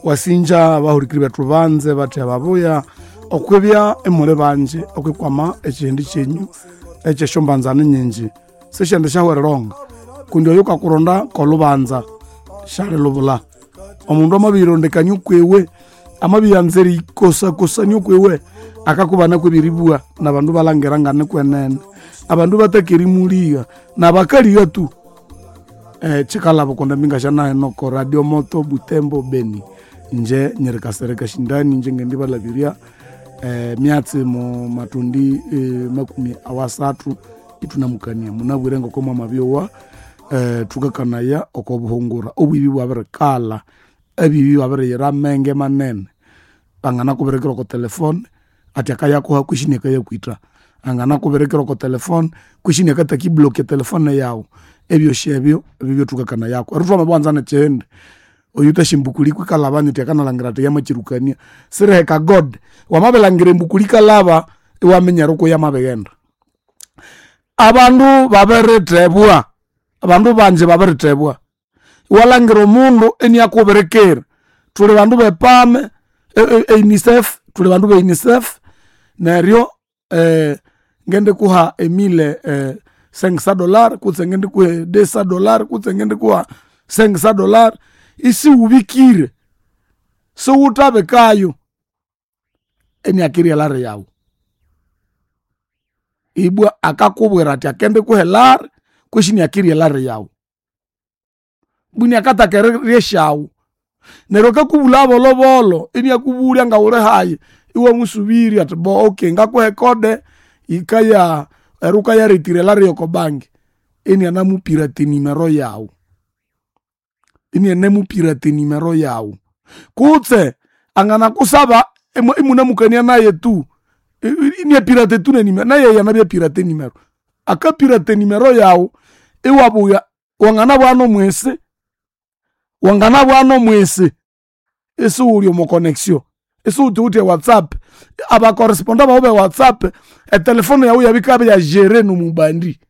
Wasinja abahurikiri bethu banze batya babuya okwibya imuli banji okwikwama ekihindi kyenyu ekyesyombanzani nyinji sisyendi syahwereronga kundi oyo kakuronda kolubanza syalilubula. Omundu amabiyirondekania okwiwe, amabiyanza eriyikosakosania okwiwe, akakubana kwebiribwa nabandu balhangira nganikwenene. Abandu bataka erimuligha nabakaligha tu. Kyikalhaba kundi mbinga oko Radio Moto Butembo Beni. Inje nyiri Kasereka Shindani inje ngendibalhabirya emyatsi mu matundi makumi awasathu ithunamukania. Munabwire ngoko mwamabyowa thukakanaya oko buhungura. Obwibi bwabirikalha, abibi babiriyira amenge manene. Banganakubirikira oko telefone athi akayakuha kwisi inakayakwitha. Anganakubirikira oko telefone kwisi iniakataka iblock etelefone yawu. Ebyosi ebyo byebyathukakanayako. Neryo thwamabiwanza nekyindi, oyuthasi embukuli kwikalhaba nyiti akanalhangira athi yamakyirukania. Siriheka God, wamabilhangira embukuli yikalhaba iwaminya eriko yamabighenda. Abandu babirithebwa, abandu banji babirithebwa. Iwalhangira omundu iniakubirikira. Thuli bandu bepame e UNICEF, thuli bandu be UNICEF neryo ngendikuha emille cinq cent dollars kutse ngendikuha deux cent dollars kutse ngendikuha cinq cent dollars isiwubikire, siwuthabikayo, iniakirya elari yawu. Ibwa akakubwira athi akendikuha elari kwisi iniakirya elari yawu. Ibwa iniakathaka erirya esyawu. Neryo akakubulhaya bolhobolho iniakubulya ngawuli hayi, iwamusubirya athi bo okay ngakuha ecode yikaya neryo wukayaretira elari yoko bank. Inianamupirata enimero yawu, inianamupirata enimero yawu. Kutse anganakusaba imunamukania naye tu, iniapirata tu nenimero, naye anabya pirata enimero. Akapirata enimero yawu iwabugha wanganabugha nomwisi, wanganabugha nomwisi isiwuli omo connection, isiwuthiwithe ewhatsapp. Aba correspondant bawu be whatsapp, etelefone yawu iyabya yikabya gere nomubandi.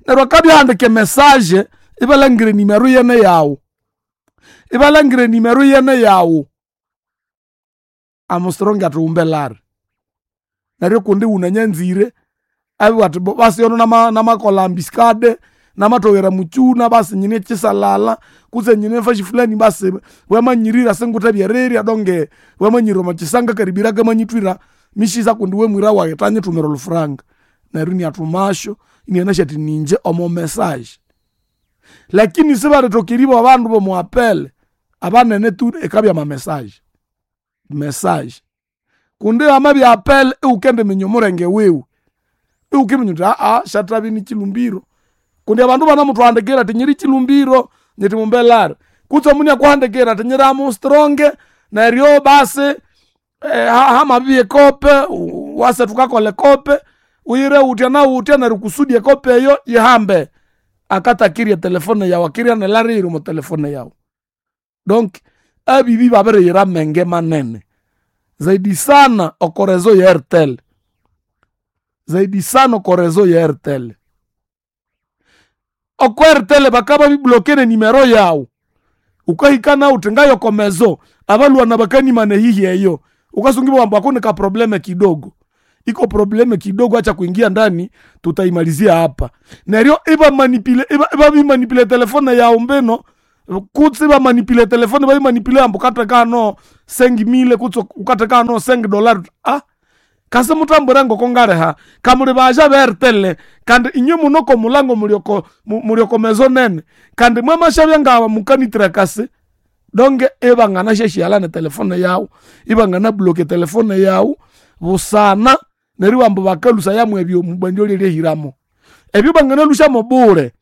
Neryo akabya ahandika emessage ibalhangira enimero iyene yawu, ibalhangira enimero iyene yawu. Amustrong athi wumbe elari. Neryo kundi wunanyanzire, ababugha athi basi yono namakolha ambiscade, namathoghera mukyuna basi nyine kyisalala kutse nyine fasi fulani basi wamanyirira singuthe erirya donge wamanyirira omo kyisanga karibira kamanyithwira misisa kundi iwe mwira wayi thanyithumira olhufuranga. Neryo iniathumasyo inianasi athi ningye omo message. Lakini sibalithoka eribugha abandu bomo apel, abanene tu ikabya ama message, message. Kundi hamabya apel iwukendiminya omulenge wiwe, iwukiminya wuthi syathabya nikyilumbiro. Kundi abandu banamuthuhandikira athi nyiri kyilumbiro nyithi mumbe elari. Kutse omundu iniakuhandikira athi nyiri Armstrong neryo basi hamabibya ekope wase thukakolha ekope, uyire wutya nawutya neryo kusudi ekope eyo yihambe. Akatakirya etelefone yawu, akirya nelari eyiri omo telefone yawu. Donc abibi babiriyira amenge manene. Zaidi sana oko reseau ye Airtel, zaidi sana oko reseau ye Airtel. Oko Airtel bakababiblock nenimero yawu, wukahika nawu wuthi ngaye oko maison, abalhwana bakanimana eyihya eyo. Wukasunga ibugha ambu ako nika probleme kidogo, iko probleme kidogo acha kuingia ndani tutaimalizia hapa. Neryo ibamanipula ibabimanipula etelefone yawu mbino kutse ibamanipula etelefone babimanipula ambu wukatheka hano cinq mille kutse wukatheka hano cinq dollars kasi muthambwire ngoko ngaliha. Kamuli baja be Airtel kandi inywe mune oko mulango muli oko muli oko maison nene kandi mwamasyabya nga mukanithira donge ibanganasyasyaghala netelefone yawu, ibangana block etelefone yawu busana neribugha ambu bakalhusayamu ebyo omubandi olyalya ahiramo. Ebyo banganalhusyamo bule.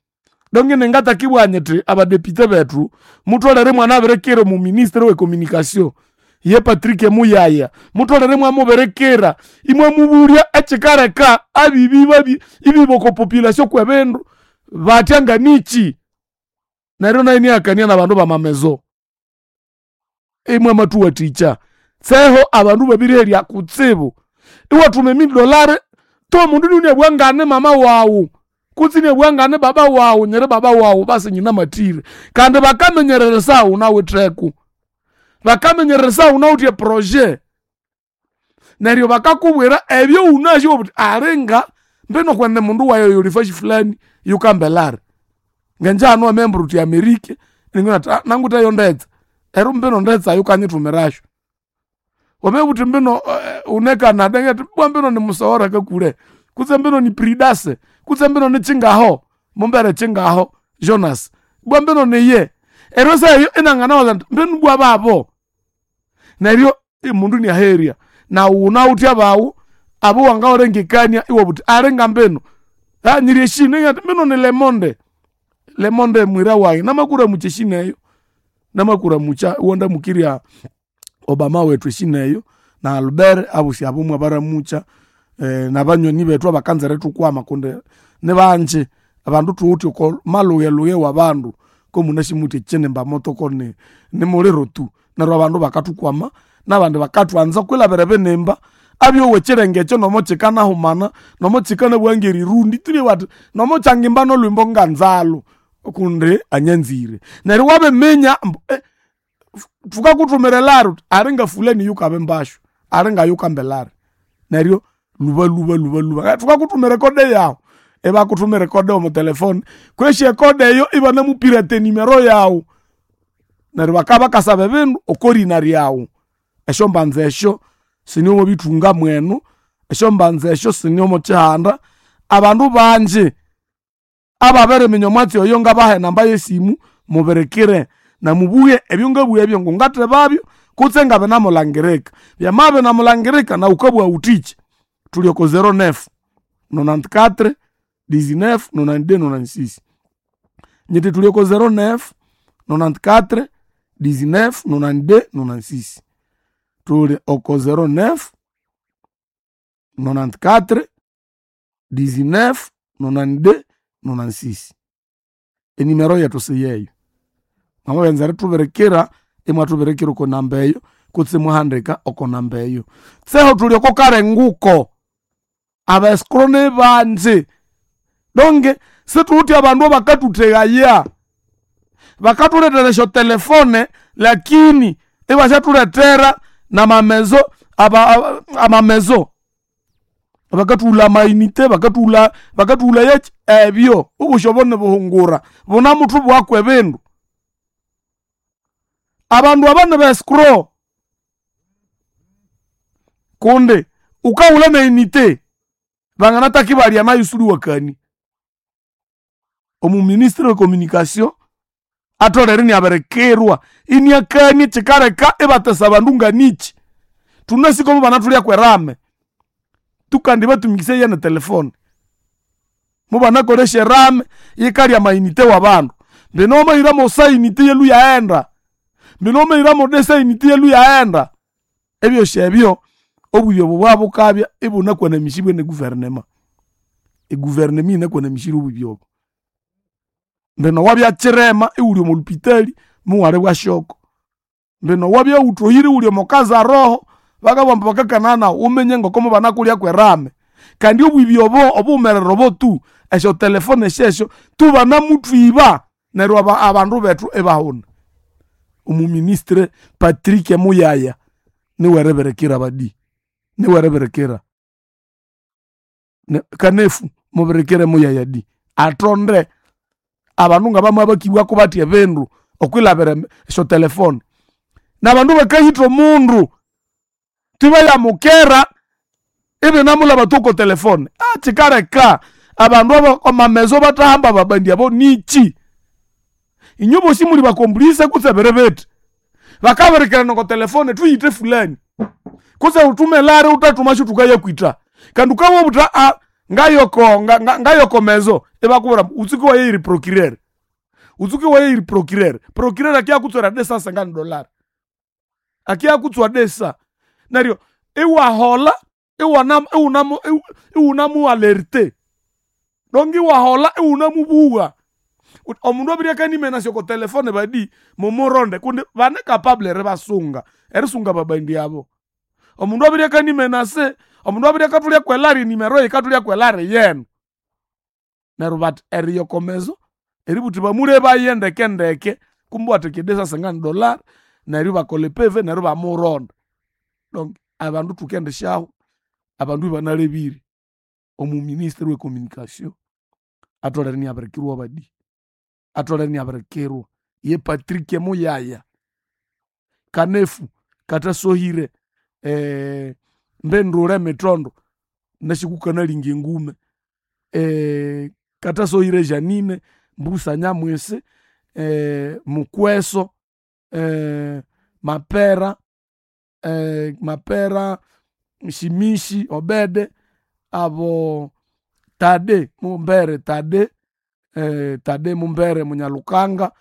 Donge ningatakibugha nyithi abadepite bethu mutholere imwanabirikira omuministre owe communication ye Patrick Muyaya, mutholere imwamubirikira imwamubulya ekyikaleka abibi babi ibiba oko population kwebindu batya nganikyi. Neryo nayo inihakania nabandu bama maison. Imwamathuwathikya. Tseho abandu babiriherya kutsibu. Iwathuma emille dollars to omundu inabugha ngane mama wawu. Kutse inabugha ngane baba wawu, nyiri baba wawu basi nyinamatire. Kandi bakamenyereresa wunawitheko. Bakamenyereresa wunawithe eprojet. Neryo bakakubwira ebyo wunasi iwabugha wuthi alinga mbino kwenene mundu wayi oyo yuli fasi fulani yukambelari. Ngenje hanu wamambwira wuthi Amerika, iningibugha ngathi nangutheyo ndetsa. Neryo mbino ndetsa wukanyithumirasyo. Wamabugha wuthi mbino wune Canada ingathi ibwa mbino nimusogora kakule, kutse mbino ni Pridase, kutse mbino nikyingaho, mumbere kyingaho Jonas, ibwa mbino niye. Neryo esaha eyo inanganawaza indi mbinu ibwa babo. Neryo omundu iniaherya. Nawu wunawithe abawu abowangawalengekania iwabugha wuthi alinga mbinu nyiri eshina ingathi mbinu ni Lemonde. Lemonde mwira wayi namakuramukya eshina eyo, namakuramukya iwandamukirya Obama wethu eshina eyo, na Albert abosi abo mwabaramukya, nabanyoni bethu abakanza erithukwama kundi nibanji. Abandu thuwithe oko malhughelhughe wabandu komunasi muthi ekyinimba moto koni nimuliro tu. Neryo abandu bakathukwama nabandi bakathwanza kwilhabira ebinimba abyowa ekyirenge ekyo nomo kyikanahumana, nomo kyikanabugha ngerirundi thulibugha bathi nomo kyangimba nolhwimbo nganzalu kundi anyanzire. Neryo wabiminya ambu thukakuthumira elari wuthi alinga fulani yukabimbasyo, alinga yukamba elari. Neryo lhuba lhuba lhuba lhuba thukakuthumira ecode yawu, ibakuthumira ecode yomo telefone kwesi ecode eyo ibanamupirata enimero yawu. Neryo bakabya bakasaba ebindu okorina ryawu. Esyombanza esyo sinimwabithunga mwenu, esyombanza esyo sinimokyihanda. Abandu banji ababiriminya omwatsi oyo ngabaha enamba yesimu mubirikire namubughe ebyongabugha ebyo ngungathebabyo kutse ngabinamulangirika. Byamabya binamulangirika nawu wukabugha wuthikyi. Thuli oko 09 94 19 92 96. Nyithi thuli oko 09 94 19 92 96. Thuli oko 09 94 19 92 96. Enimero yethu siyeyo. Mwamabyanza erithubirikira, imwathubirikira oko namba eyo kutse imwahandika oko namba eyo. Tseho thuli oko karenguko. Abaescrow nibanji. Donge sithuwithe abandu abakathuthegaya. Bakathulethera esyotelefone lakini ibasyathulethera namamezo amamezo. Bakathughulha amainite, bakathughulha bakathughulha ebyo. Obosi obo nibuhungura, bunamuthubughaku ebindu. Abandu aba niba escrow. Kundi wukahulha neinite, banganataka ibalya nayu isiwuliwakania. Omuministre we communication atholere inabirikirwa iniakania ekyikaleka ibatesa abandu nganikyi. Thunasi komo banathulya kwerame, tukandi batumikisaya netelefone. Mubanakolesya erame yikalya amainite wabandu. Mbino wamahira mosa inite yalwe yaghenda, mbino wamahira modesa inite yalwe yaghenda. Ebyosi ebyo obwibi obo bwabukabya ibunakwanamisibwe ne government. Egovernment yinakwanamisire obwibi obo. Mbino wabya kyirema iwuli omo lupitali muwali bwashoko. Mbino wabya wuthohire iwuli omo kazaroho bakabugha ambu bakakana nawu wuminye ngoko mubanakulya kwerame. Kandi obwibi obo obuwumerere obo tu esyotelefone syesyo tubanamuthwiba neryo abandu bethu ibahuna. Omuministre Patrick Muyaya niweribirikira badi, niweribirikira. Kanefu mubirikire Muyaya di. Athonde abandu ngabamabakibwako bathi ebindu okwilhabira esyotelefone. Nabandu bakahitha omundu tibayamukera ibinamulhaba tu oko telefone. Kyikaleka abandu amamezo bathahamba ababandi abo nikyi? Inywe bosi muli bakomplice kutse biri bithi. Bakabirikirana oko telefone thuyithe fulani kutse wuthume elari wuthathumasyo thukayakwitha. Kandi wukabugha wuthi ngayoko ngayoko mezo ibakubwira ambu wutsuke iwaya procureur, wutsuke iwaya procureur. Procureur akiyakutswera desa sengani dollar, akiyakutswa desa. Neryo iwaholha iwunamualerte donk iwaholha iwunamubugha. Omundu abirye akanimenasya oko telefone badi mumuronde kundi bane capable eribasunga, erisunga babandi abo. Omundu abirye akanimenase, omundu abirye akathulya kwelari enimero eyi yikathulya kwelari yenu. Neryo bati eriyokomezo eributhi bamulebaye ndeke ndeke kumbe wathekede $50 neryo ibakolha epv neryo ibamuronda. Donc abandu thukendisyaho abandu ibanalebire. Omuminister owe communication atholere inabirikirwa badi, atholere inabirikirwa. Ye Patrick Muyaya Kanefu kathasohire mbendule mitondo wunasi kukanalinga engume kathasohire Janine Mbusa Nyamwisi Mukweso Mapera Mapera Shimishi Obede abo Tade Mumbere Tade Tade Mumbere Munyalukanga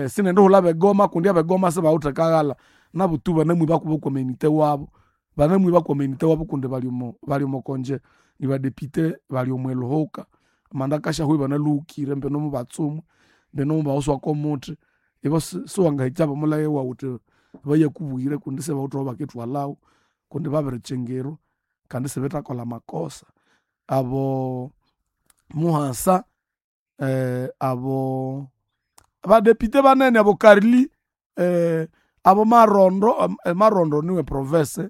sinendihulha abegoma kundi abegoma sibawithe kaghalha nabutu banamwibaku bokwamanite wabo. Banamwiba kwamanite wabo kundi bali omokonje nibadepite bali omwilhuhuka. Amanda akasyahu ibanalhuhukire mbino mubatsumwa, mbino mubawoswa kwomuthi. Ibo siwangahikya bomulheghe wawu wuthi bayakubuyire kundi sibawithe awabakithwalhawu kundi babirikyingirwa kandi isibithakolha amakosa. Abo Muhasa abo abadepite banene abo Carly abo Marondo, Marondo niwe province,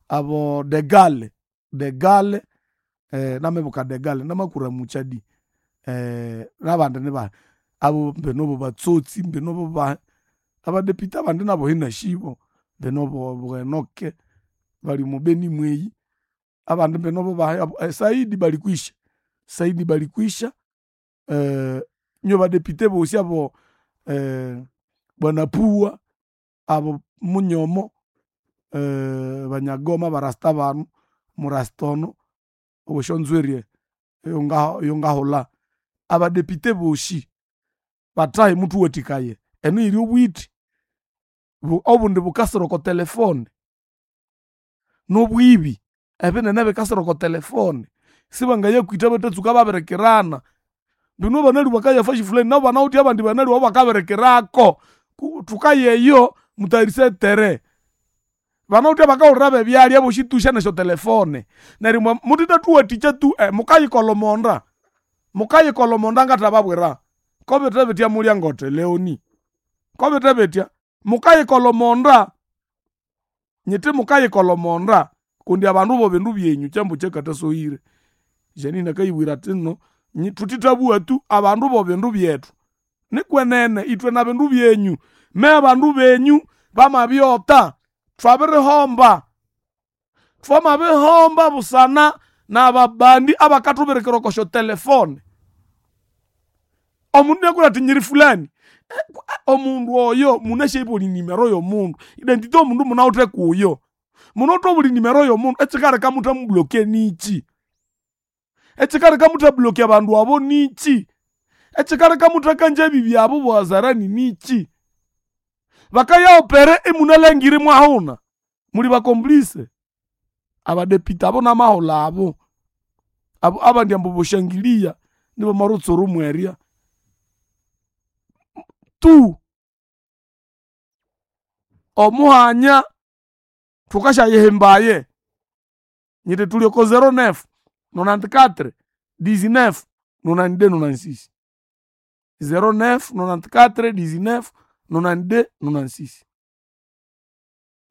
abo Degale, Degale namibuka Degale namakuramukya di nabandi nibahi abo mbino bobatsotsi mbino bobahi abadepite abandi nabo inashibo mbino bo Enock bali omo Beni mweyi abandi mbino bobahi Saidi Balikwisha, Saidi Balikwisha nyo badepite bosi abo bwana Puwa abo Munyomo banyagoma abarasta bano omurasta ono owesyonzwiri eyongahulha. Abadepite bosi bathahi muthuwathikaye eno yiri obwithi obundi bukasira oko telefone nobwibi ebinene bikasira oko telefone. Sibangayakwitha bathatsuka babirikirana. Mbino banalhwa bakaya fasi fulani nabo banawithe abandi banalhwa ababakabirikirako. Thukaya eyo muthayarisye etere. Banawithe abakahulira bebyalya abosi tusya nesyotelefone. Neryo muthethathuwathikya tu mukayikolha omonda, mukayikolha omonda ngathababwira. Kobithe bithya mulyangote Leoni, kobithe bithya mukayikolha omonda, nyithi mukayikolha omonda kundi abandu bobindu byenyu kyambu kyakathasohire. Janine akayibwira athi nno thuthithabugha tu abandu bobindu byethu. Nikwenene ithwe nabindu byenyu, me abandu benyu bamabyotha thwabirihomba. Thwamabihomba busana nababandi abakathubirikira oko syotelefone. Omundu inakubwira athi nyiri fulani, omundu oyo munasi buli nimero yomundu, identity yomundu munawithe kuyo. Munawithe obuli nimero yomundu ekikaleka imuthamublokia nikyi? Ekikaleka imuthablokia abandu abo nikyi? Ekikaleka imuthakangya ebibi abo bohazarani nikyi? Bakaya opere imunalangire imwahuna. Muli bacomplice. Abadepite abo namahulha abo. Abo abandi ambu boshangilia nibomo mwerya. Tu omuhanya thukasyayihimbaye. Nyithi thuli oko 09 94 19 92 96. 09 94 19 92 96.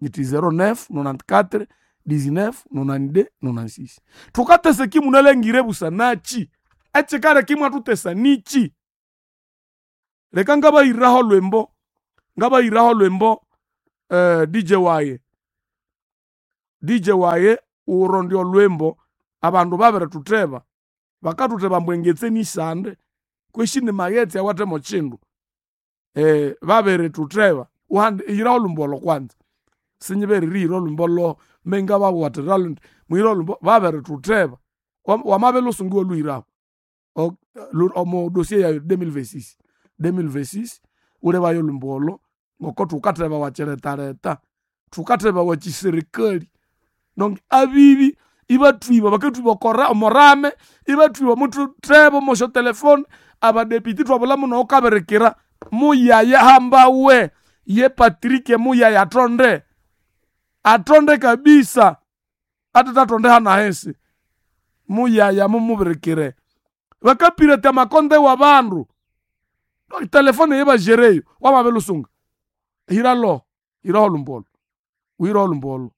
Nyithi 09 94 19 92 96. Thukateseka imunalangire busanakyi? Ekikaleka imwathutesa nikyi? Leka ngabayiraho olhwimbo, ngabayiraho olhwimbo DJ wayi, DJ wayi wurondya olhwimbo abandu babiritutheba. Bakathutheba ambu engetse nisande kwesi nimaghetse awathe mokyindu. Babiritutheba hiraho olhwimbo olho kwanza. Sinyibere erihira olhwimbo loho mengabawathira indi muhire olhwimbo babiritutheba. Wamabya lhusungu iwalhuhiraho omo dossier yayi 2026, 2026 wulebayo olhwimbo olho ngoko thukathebawa kyilhethalhetha, thukathebawa kyiserikali. Donc abibi ibathwiba bakathwiba omorame, ibathwiba muthutheba omosyotelefone, abadepite ithwabulha noyukabirikira muyaya hambawe ye Patrick Muyaya athonde. Athonde kabisa athethathonde hanahisi. Muyaya mumubirikire. Bakapirata amakonde wa bandu. Telefone yebajereyo wamabilusunga. Hira lo, hira olumbolo. Wira olumbolo.